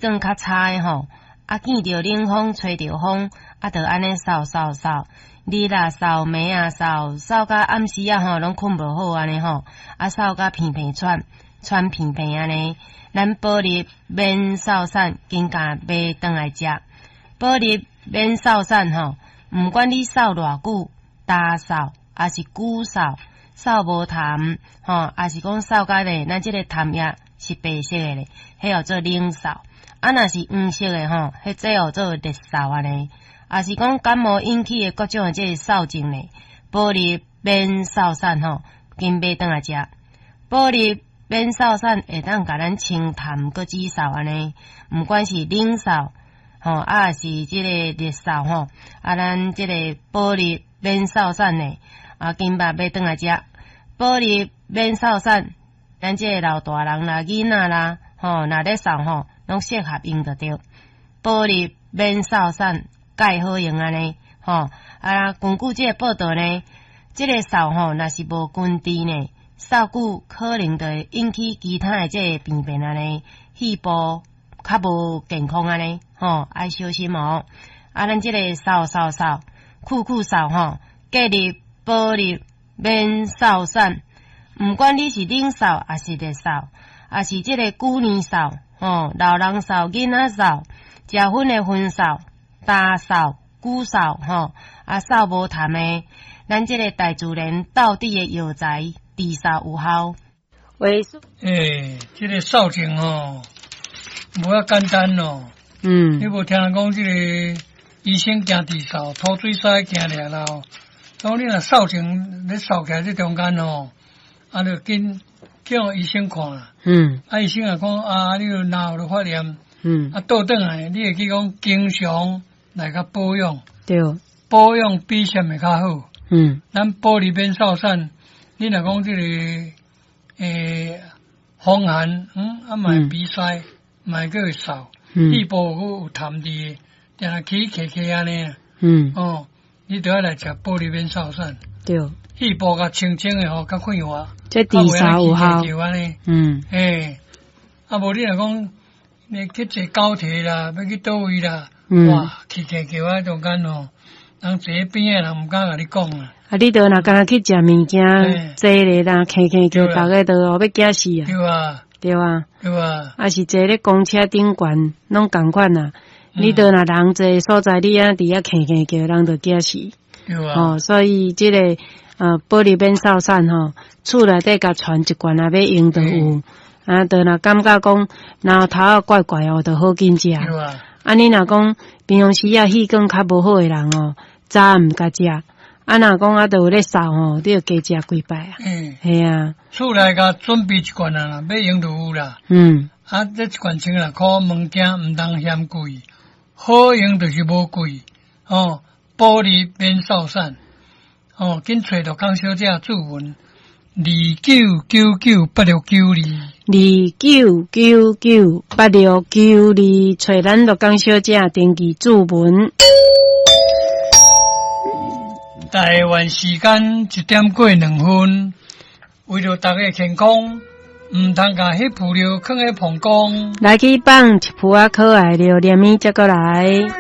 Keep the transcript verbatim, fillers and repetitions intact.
管較差的吼，啊見著冷風，吹著風，啊就按呢嗽嗽嗽，日啊嗽，暝啊嗽，嗽甲暗時仔吼攏睏無好按呢吼，啊嗽甲鼻鼻喘，喘鼻鼻按呢。咱保立免嗽散，緊共買轉來食。保立免嗽散吼，毋管你嗽偌久，焦嗽，抑是久嗽，嗽無痰吼，抑是講嗽甲咧，咱這個痰液是白色的咧，彼叫做冷嗽。啊，若是黃色的吼，彼這叫做熱嗽按呢。抑是講感冒引起的各種的這個嗽症咧，保立免嗽散吼，緊買轉來食。保立免嗽散會當共咱清痰閣止嗽按呢，毋管是冷嗽吼，啊是這個熱嗽吼，啊咱這個保立免嗽散呢，啊緊捌買轉來食。保立免嗽散，咱這個老大人啦、囡仔啦，吼，若咧嗽吼，攏適合用就對。保立免嗽散蓋好用按呢，吼啊，根據這個報道呢，這個嗽吼，若是無根治呢，嗽久可能就會引起其他的這個病變按呢，肺部較無健康按呢，吼，愛小心哦。啊，咱這個嗽嗽嗽，久久嗽吼，建議保立免嗽散，毋管你是冷嗽，抑是熱嗽，抑是這個久年嗽，吼，老人嗽、囡仔嗽，食薰的薰嗽、焦嗽、久嗽，吼，啊嗽無痰的，咱這個大自然道地的藥材治嗽有效。欸，這個嗽症吼，無遐簡單咯。嗯。你無聽人講這個醫生驚治嗽，吐水屎驚掠啦。當你若嗽症咧嗽起來這中間吼，啊，就緊叫醫生看啦。嗯。啊，醫生也講啊，你有腦有發炎。嗯。啊，倒轉來，你會記講經常來共保養。對。保養比啥物較好。嗯。咱保立免嗽散，你若講這個欸風寒，嗯，啊嘛會鼻塞，嘛會閣會嗽，肺部閣有痰佇，定定起咳咳按呢。嗯。哦，你著愛來食保立免嗽散。對。肺部較清清的吼，較快活。這治嗽有效。嗯。欸，啊無你若講，你去坐高鐵啦，欲去佗位啦，哇，起咳叫啊中間吼，人坐邊的人毋敢共你講啊。啊，你著若敢若去食物件，坐咧啦，咳咳叫，逐家都欲驚死啊！對啊。對啊。對啊。啊是坐咧公車頂懸，攏仝款啊！你著若人濟所在，你按佇遐咳咳叫，人就驚死。對啊。哦，所以這個呃，保立免嗽散吼，厝內底共傳一罐啊，欲用就有。啊，著若感覺講嚨頭仔怪怪哦，就好緊食。對啊。啊，你若講平常時啊，氣管較無好的人哦，早暗毋共食。啊，若講啊，著有咧嗽吼，你就加食幾擺啊。嗯。嘿啊。厝內共準備一罐啊啦，欲用就有啦。嗯。啊，這一罐千六箍，物件毋通嫌貴，好用就是無貴。哦，保立免嗽散。哦，緊揣陸康小姐注文，二九九九八六九二。二九九九八六九二，揣咱陸江小姐登記注文。台灣時間一點過兩分，為著大家健康，毋通共彼浮料囥佇膀胱。來去放一浮仔可愛榴蓮，才閣來。